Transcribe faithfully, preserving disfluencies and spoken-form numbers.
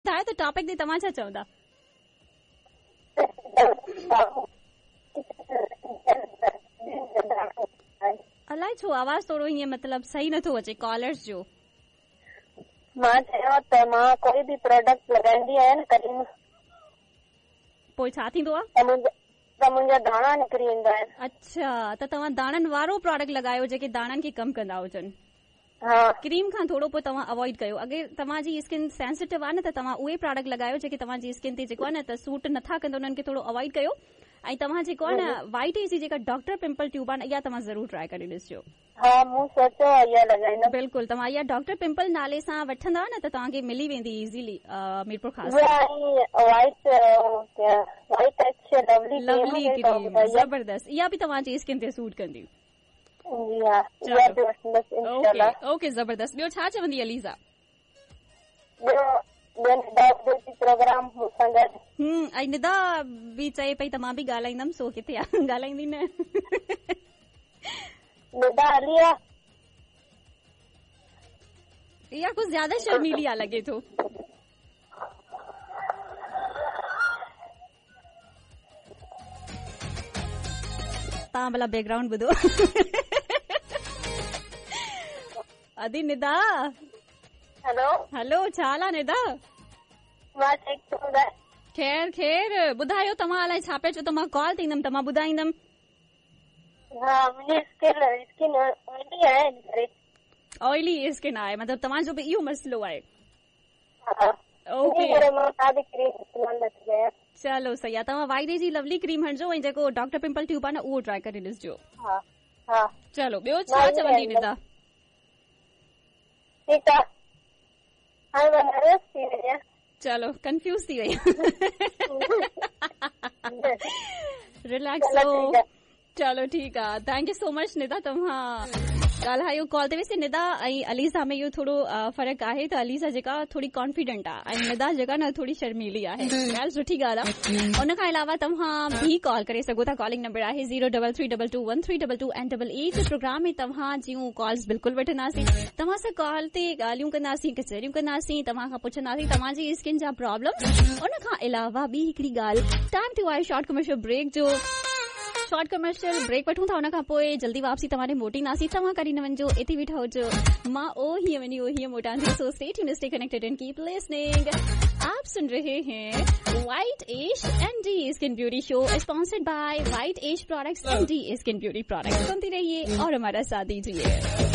ॿुधायो त टॉपिक ते तव्हां छा चवंदा? अलाए छो आवाज़ थोरो हीअं मतिलबु सही नथो अचे कॉलर्स जो। मां चयो त मां कोई बि प्रोडक्ट लॻाईंदी आहियाँ न क्रीम, पोइ छा थींदो आहे? त मुंहिंजा दाणा निकिरी वेंदा आहिनि। अच्छा, त तव्हां दाणनि वारो प्रोडक्ट लॻायो जेके दाणनि खे कमु कंदा हुजनि। हा, क्रीम खां थोरो पोइ तव्हां अवॉइड कयो। अगरि तव्हांजी स्किन सेंसिटिव आहे न त तव्हां उहे प्रोडक्ट लॻायो जेके तव्हांजी स्किन ते जेको आहे न त सूट नथा कंदा, उन्हनि खे थोरो अवॉइड कयो। ऐं तव्हां जेको आहे न वाइट एज जी जेका डॉक्टर पिंपल ट्यूब आहे न, इहा तव्हां ज़रूरु ट्राई करे ॾिसजो। हा, मूं सोचियो आहे इहा लॻाईंदमि। बिल्कुलु, तव्हां इहा डॉक्टर पिंपल नाले सां वठंदा न त तव्हांखे मिली वेंदी इज़ीली मीरपुर ख़ास। White white touch lovely lovely cream, ज़बरदस्त, इहा बि तव्हांजी स्किन ते सूट कंदी। जी हा, इहा बि वठंदसि इंशाअल्लाह। ओके, ज़बरदस्त। ॿियो छा चवंदी अलीज़ा? ॿियो ॿियो निदा जो प्रोग्राम मूंसां गॾु। हम्म, ऐं निदा बि चए पई त मां बि ॻाल्हाईंदमि, सो किथे आहे ॻाल्हाईंदी न। निदा हली आहे, इहा कुझु ज़्यादा शर्मीली आहे लॻे थो। तव्हां भला बैकग्राउंड ॿुधो। अदी निदा, हेलो हेलो, छा हाल आहे निदा? मां ठीकु, तूं ॿुधाए? ख़ैर ख़ैर, ॿुधायो तव्हां अलाए छा पिया चओ? त मां कॉल ते ईंदमि त मां ॿुधाईंदमि। हा, मुंहिंजी स्किन स्किन ऑयली आहे इन करे। ऑयली स्किन आहे, मतिलबु तव्हांजो बि इहो मसइलो आहे। हा, ओके, करे मां का बि क्रीम इस्तेमाल नथी कयां। चलो सही आहे, तव्हां वाइट जी लवली क्रीम हणजो ऐं जेको डॉक्टर पिंपल ट्यूब आहे न उहो ट्राई करे ॾिसजो। हा हा, चलो ॿियो छा चवंदी निदा? ठीकु आहे, हाणे मां नर्वस थी वई आहियाँ। चलो कंफ्यूज थी वई, रिलैक्स हो। चलो ठीकु आहे, thank you so much Nida, तव्हां ॻाल्हायो कॉल ते। वैसे निदा ऐं अलीज़ा में इहो थोरो फ़र्क़ु आहे त अलीज़ा जेका थोरी कॉन्फिडेंट आहे ऐं निदा जेका न थोरी शर्मीली आहे। ॻाल्हि सुठी ॻाल्हि आहे। उन खां अलावा तव्हां बि कॉल करे सघो था। कॉलिंग नंबर आहे zero double three double two one three double two and double eight. Programme में तव्हां जूं कॉल्स बिल्कुलु वठंदासीं, तव्हां सां कॉल ते ॻाल्हियूं कंदासीं, कचहरियूं कंदासीं, तव्हां खां पुछंदासीं तव्हांजी स्किन जा प्रॉब्लम। उन खां अलावा ॿी हिकिड़ी ॻाल्हि, टाइम थियो आहे शॉर्ट कमर्शियल ब्रेक जो। शॉर्ट कमर्शियल ब्रेक वठूं था, उन खां पोइ जल्दी वापसी तव्हां ॾे मोटींदासीं। तव्हां कॾहिं न वञिजो, इते बीठा हुजो, मां ओ हीअं वञी ओ हीअं मोटां थी। So stay tuned, stay connected and keep listening. आप सुन रहे हैं white ash and D skin beauty show, sponsored by white ash products and D skin beauty products. सुनती रहिए और हमारा साथ दीजिए।